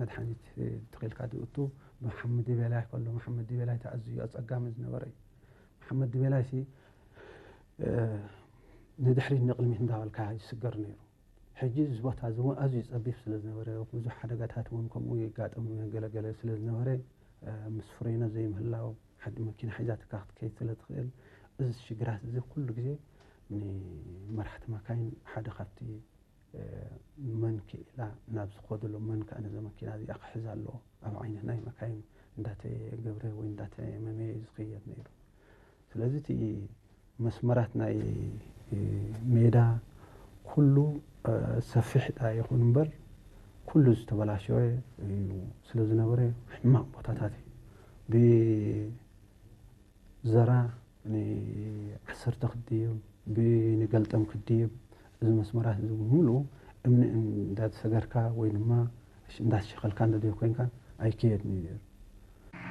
መድሓኒት ተኺልካ ዝእቱ ብሓመድ ድቤላይ ከሎ፣ መሓመድ ድቤላይ ኣዝዩ ኣጸጋሚ ዝነበረ እዩ። መሓመድ ድቤላይ ሲ ንድሕሪት ንቕድሚት እንዳበልካ ይስገር ነይሩ። ሕጂ እዚ ቦታ እዚ እውን ኣዝዩ ጸቢብ ስለ ዝነበረ፣ ብዙሕ ሓደጋታት እውን ከምኡ የጋጥም ገለገለ ስለ ዝነበረ፣ ምስ ፍሬኖ ዘይምህላው፣ ሓንቲ መኪና ሒዛትካ ክትከይድ ስለ ትኽእል፣ እዚ ሽግራት እዚ ኩሉ ግዜ ንመራሕቲ መካይን ሓደ ካብቲ መን ክኢላ ናብ ዝኸደሉ፣ መን ከኣ ነዚ መኪና እዚኣ ክሕዝ ኣለዎ፣ ኣብ ዓይነት ናይ መካይን እንዳተገብረ ወይ እንዳተመመየ እዩ ዝኸየድ ነይሩ። ስለዚ እቲ መስመራት ናይ ሜዳ ኩሉ ሰፊሕ ዳ ይኹን እምበር ኩሉ ዝተበላሸወ እዩ ስለ ዝነበረ ሕማቕ ቦታታት እዩ። ብዘራ ንዓሰርተ ክድይብ ብንገልጠም ክድይብ እዚ መስመራት እዚ ብምሉኡ እምኒ እንዳተሰገርካ ወይ ድማ እንዳተሸኸልካ እንደደዮ ኮይንካ ኣይከየድን እዩ ነይሩ።